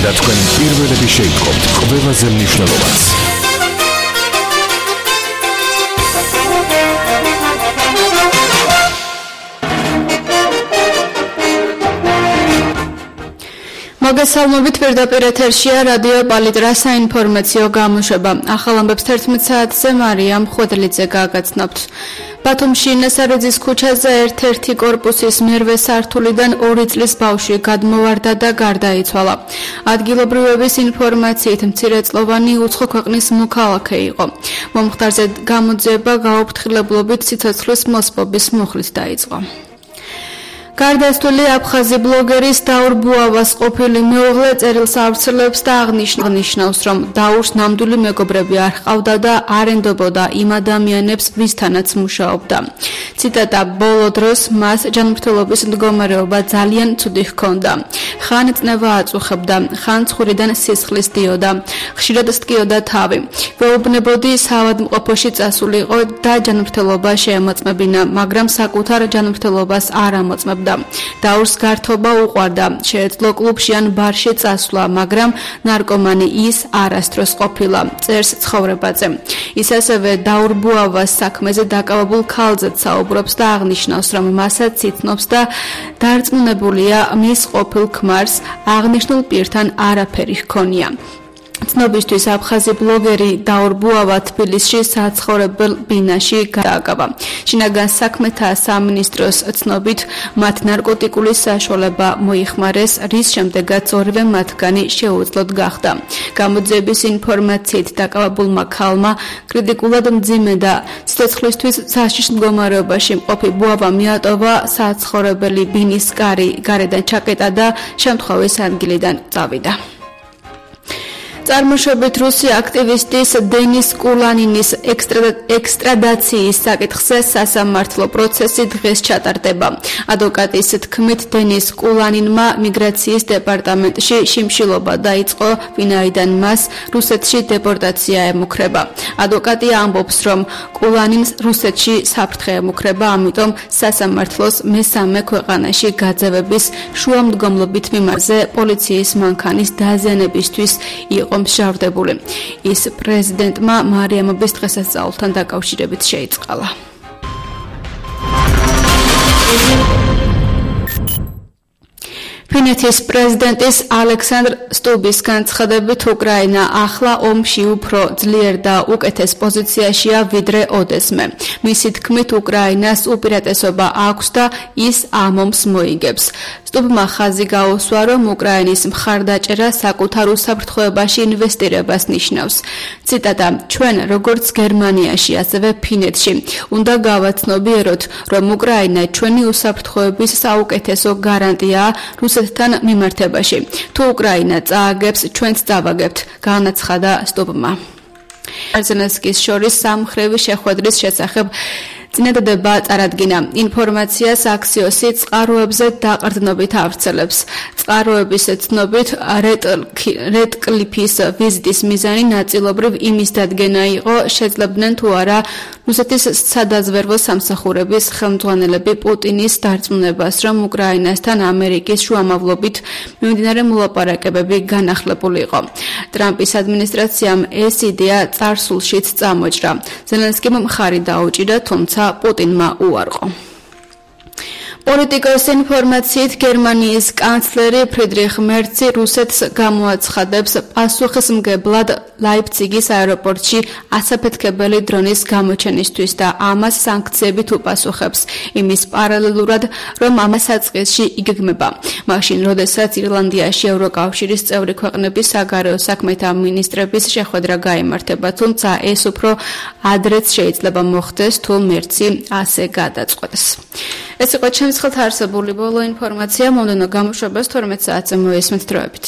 და თქვენ პირველები შეიტყობთ ყველაზე მნიშვნელოვანს. მოგესალმებით, პირდაპირ ეთერშია რადიო პალიტრა საინფორმაციო გამოშვება. ახალ ამბებს 11 საათზე მარიამ ხვედლიძე გაგაცნობთ. ბათუმში ნესარიძის ქუჩაზე ერთ-ერთი კორპუსის მერვე სართულიდან 2 წლის ბავშვი გადმოვარდა და გარდაიცვალა. ადგილობრივების ინფორმაციით მცირეწლოვანი უცხო ქვეყნის მოქალაქე იყო. მომხდარზე გამოძიება გაუფრთხილებლობით სიცოცხლის მოსპობის მუხლით დაიწყო. გარდაცვლილი აფხაზი ბლოგერის დაურ ბუავას ყოფილი მეუღლე წერილს ავრცელებს და აღნიშნავს, რომ დაურს ნამდვილი მეგობრები არ ჰყავდა და არ ენდობოდა იმ ადამიანებს, ვისთანაც მუშაობდა. ციტატა: ბოლო დროს მას ჯანმრთელობის მდგომარეობა ძალიან ცუდი ჰქონდა. ხან წნევა აწუხებდა, ხან ცხვირიდან სისხლის დიოდა, ხშირად სტკიოდა თავი. ვეუბნებოდი საავადმყოფოში წასულიყო და ჯანმრთელობა შეემოწმებინა, მაგრამ საკუთარ ჯანმრთელობას არ ამოწმებდა. დაურს გართობა უყვარდა, შეეძლო კლუბში ან ბარში წასვლა, მაგრამ ნარკომანი ის არასდროს ყოფილა, წერს ცხოვრებაზე. ის ასევე დაურ ბუავას საქმეზე დაკავებულ ქალზეც საუბრობს და აღნიშნავს, რომ მასაც იცნობს და დარწმუნებულია მის ყოფილ ქმარს, აღნიშნულ პირთან არაფერი ჰქონია. ცნობისთვის აფხაზი ბლოგერი დაურ ბუავა თბილისში საცხოვრებელ ბინაში გააკავა. შინაგან საქმეთა სამინისტროს ცნობით მათ ნარკოტიკული საშუალება მოიხმარეს, რის შემდეგაც ორივე მათგანი შეუძლოდ გახდა. გამოძიების ინფორმაციით დაკავებულმა ქალმა კრიტიკულად მძიმე და სიცოცხლისთვის საშიშ მდგომარეობაში მყოფი ბუავა მიატოვა საცხოვრებელი ბინის კარი, გარედან ჩაკეტა და შემთხვევის ადგილიდან წავიდა. წარმოშობით რუსი აქტივისტის დენის კულანინის ექსტრადაციის საკითხზე სასამართლო პროცესი დღეს ჩატარდება. ადვოკატის თქმით, დენის კულანინმა მიგრაციის დეპარტამენტში შიმშილობა დაიწყო, ვინაიდან მას რუსეთში დეპორტაცია ემუქრება. ადვოკატი ამბობს, რომ კულანინს რუსეთში საფრთხე ემუქრება, ამიტომ სასამართლოს მესამე ქვეყანაში გაძევების შუამდგომლობით მიმარზე პოლიციის მანქანის დაზიანებისთვის იყო მსჯავრდებული. ის პრეზიდენტმა მარიამობის დღესასწაულთან დაკავშირებით შეიწყალა. ფინეთის პრეზიდენტის ალექსანდრ სტუბის განცხადებით, უკრაინა ახლა ომში უფრო ძლიერ და უკეთეს პოზიციაშია ვიდრე ოდესმე. მისი თქმით, უკრაინას უპირატესობა აქვს და ის ამ ომს მოიგებს. სტუბმა ხაზი გაუსვა, რომ უკრაინის მხარდაჭერა საკუთარ უსაფრთხოებაში ინვესტირებას ნიშნავს. ციტატა: ჩვენ, როგორც გერმანიაში, ასევე ფინეთში, უნდა გავაცნობიეროთ, რომ უკრაინა ჩვენი უსაფრთხოების საუკეთესო გარანტიაა რუსეთთან მიმართებაში. თუ უკრაინა წააგებს, ჩვენც წავაგებთ, განაცხადა სტუბმა. ზელენსკის შორის სამხრევი შეხვედრის შესახებ წინადადება წარადგინა. ინფორმაციას აქსიოსი წყაროებზე დაყრდნობით ავრცელებს. წყაროების ცნობით, რედკლიფის ვიზიტის მიზანი ნაწილობრივ იმის დადგენა იყო, შეძლებდნენ თუ არა რუსეთის სადაზვერვო სამსახურების ხელმძღვანელები პუტინის დარწმუნებას, რომ უკრაინასთან ამერიკის შუამავლობით მიმდინარე მოლაპარაკებები განახლებულიყო. ტრამპის ადმინისტრაციამ ეს იდეა წარსულშიც წამოჭრა. ზელენსკიმ მხარი დაუჭირა, თუმცა პუტინმა უარყო. პოლიტიკოს ინფორმაციით, გერმანიის კანცლერი ფრიდრიხ მერცი რუსეთს გამოაცხადებს პასუხისმგებლად ლაიფციგის აეროპორტში ასაფეთქებელი დრონის გამოჩენისთვის და ამას სანქციებით უპასუხებს, იმის პარალელურად, რომ ამას საწყისში იგეგმება. მაშინ, როდესაც ირლანდიაში ევროკავშირის წევრი ქვეყნების საგარეო საქმეთა მინისტრების შეხვედრა გაიმართება, თუმცა ეს უფრო ადრეც შეიძლება მოხდეს, თუ მერცი ასე გადაწყვეტს. ეს იყო ჩემს ხელთ არსებული ბოლო ინფორმაცია. მომდევნო გამოშვებას 12 საათზე მოესმენთ დროებით.